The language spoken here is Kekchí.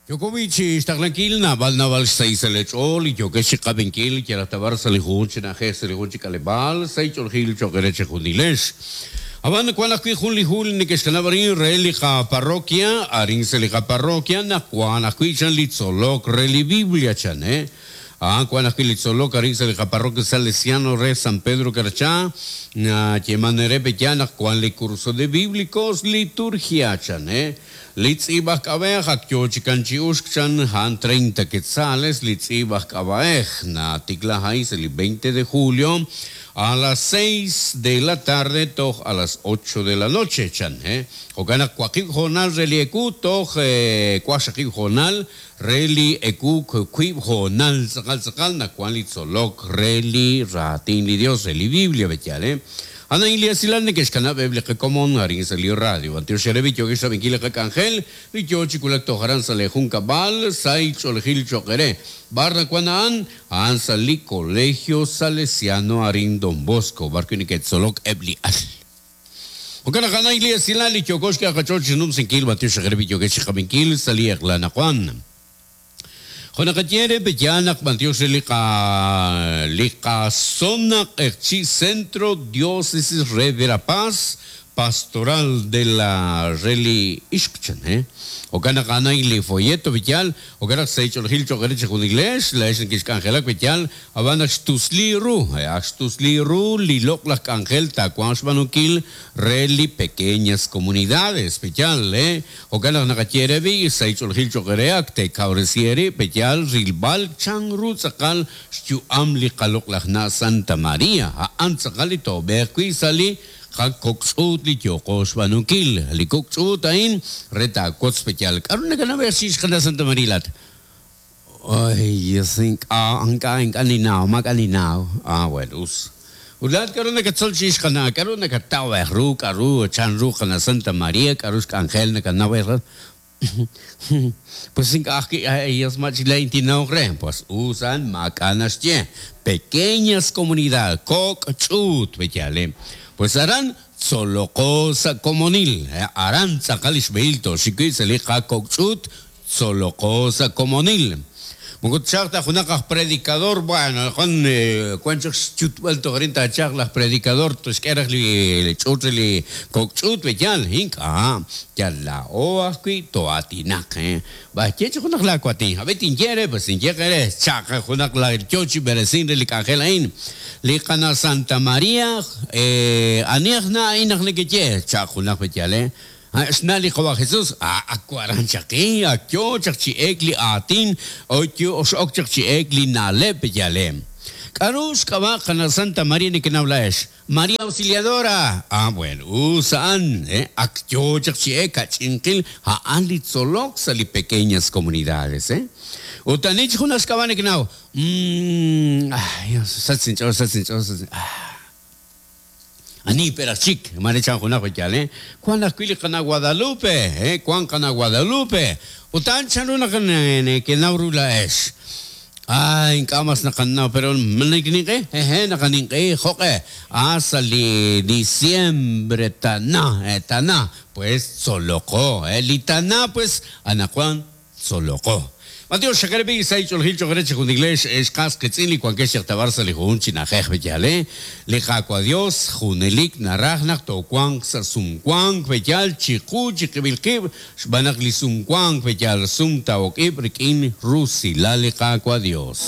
Yooko b'i' chi xtaqlankil naab'al naab'al xsahil sa' leech'ool li yookex chi qab'inkil yalaq ta b'ar sa' li jun chi na'ajej sa' li jun chi k'aleb'aal, sahil ch'oolejil cho'q eere chejunilex. Ab'an wank ajwi' jun li hu li neke'xkanab' arin re li qaparroquia, arin sa' li qaparroquia naq wank ajwi' chan li tzolok re li Biblia chan, eh. A'an wank ajwi' li tzolok arin sa' li qaparroquia Salesiano re San Pedro Carchá, nayeeman re pe'yaal naq wank li curso de Bíblicos Liturgia chan, eh. Li tz'iib' aj k'ab'a'ej ak yoo chi kan chi uxk chan a'an 30 quetzales li tz'iib' aj k'ab'a'ej natikla a'in sa' li 20 de julio a las seis de la tarde toj a las ocho de la noche chan he. Jo'kan naq waqib' hoonal re li ewu toj waqxaqib' hoonal re li ewu wiib' hoonal tz'aqal tz'aqal naq wan li tzolok re li raatin li Dios re li Biblia b'e'yaal he. A'an a'in li esilal neke'xkanab' eb' li qakomon arin sa' li radio. B'antiox eere b'i' yookex rab'inkil li qak'anjel li yoo chi wulak toj aran sa' lee junkab'al, sahil ch'oolejil cho'q eere. B'ar nawan a'an? A'an sa' li Colegio Salesiano arin Don Bosco, b'ar wi' neke'tzolok eb' li al. Jo'kan naq a'an a'in li esilal li yooko xk'e qach'ool chi numsinkil, b'antiox eere b'i' yookex chi qab'inkil sa' li eq'la anaqwan. Jo' naqaye eere pe'yaal naq b'antiox re li qa li qazona Q'eqchi' Centro Diócesis re Verapaz Pastoral de la re li ixq chan he. Jo'kan naq a'an a'in li folleto pe'yaal, jo'kan naq sa' ch'oolejil cho'q eere chejunilex, laa'ex nekexk'anjelak pe'yaal, ab'an ak xtusli ru, ak xtusli ru li loq'laj k'anjel taawanq xb'aanunkil re li pequeñas comunidades pe'yaal he. Jo'kan naq naqaye eere b'i', sa' ch'oolejil cho'q eere ak teekawresi eerib' pe'yaal rilb'al chan ru tz'aqal xyu'am li qaloq'laj na' Santa Maria, a'an tz'aqal li toob'eeq wi' sa' li qakok' ch'uut li yooqo xb'aanunkil. Li kok' ch'uut a'in re taawotz pe'yaal k'a'ru nakanaw chirix qana' Santa Maria laa'at. Ay, Dios, ink'a', ink'a', ink'a' ninnaw, maak'a' ninnaw. Ah, bueno, us. Ut laa'at k'a'ru nakatzol chirix qana'? K'a'ru nakataw ru, k'a'ru, chan ru qana' Santa Maria, k'a'ru xk'anjel nakanaw ru? Pues ink'a' ajwi', ay, Dios, ma chik laa'in tinnawq re. Pues us a'an, maak'a' naxye. Pequeñas comunidad, kok' ch'uut, b'eyaale. Pues aran tzoloqo sa' komonil. Aran tz'aqal li xb'ehil tooxik wi' sa' li qakok' ch'uut Tzoloqo sa' komonil. Moko tchalq ta junaq aj predicador, bueno, wan wan chaq xyutb'al toj arin taachalq laj predicador toxk'e raj li ch'uut re li kok' ch'uut we yaal, ink'a', yal laa'o ajwi' too'aatinaq, b'ar ye chi junaq laawatin, ab'i tinye eere, pues tinye qe re, chaq junaq la yo chi b'eresink re li k'anjel a'in, li qana' Santa Maria, ani aj na' a'in naq nekeye, chaq junaq we yaal, Xna' li Qawa' Jesus, ak waran chaq in, ak yoo chaq chi eek li aatin, x'ok chaq chi eek li na'leb' yalem. K'a'ru xk'ab'a' qana' Santa Maria nekenaw laa'ex? Maria Auxiliadora! Ah, bueno, us a'an, ak yoo chaq chi eek ka'ch'inqil a'an li tzolok sa' li pequeñas comunidades, eh. Ut ani chi junaq xk'ab'a' nekenaw? Umm, ay, sach inch'ool, sach inch'ool, sach, ah. Ani pe raj chik? Mare chan junaq li yaal, eh? Wan ajwi' li qana' Guadalupe, eh? Wan qana' Guadalupe. Ut a'an chanru naq nekenaw ru laa'ex? Ah, ink'a' mas naqanaw, pero ma nekeninq'e? Hehe, naqaninq'ehi. Jo'q'e? Ah, sa' li diciembre tana, eh, tana. Pues tzoloqo, eh? Li tana, pues, anaqwan Tzoloqo. B'antiox xaqere b'i' sa' ch'oolejil cho'q eere chejunilex ex qas qiitz'in li wankex chaq ta b'ar sa' li jun chi na'ajej b'eyal e. Li Qaawa' Dios junelik naraj naq toowanq sa' sumwank b'eyal chiqu chiqib'il qib' xb'aan naq li sumwank b'eyal sumtawok ib' rik'in rusilal li Qaawa' Dios.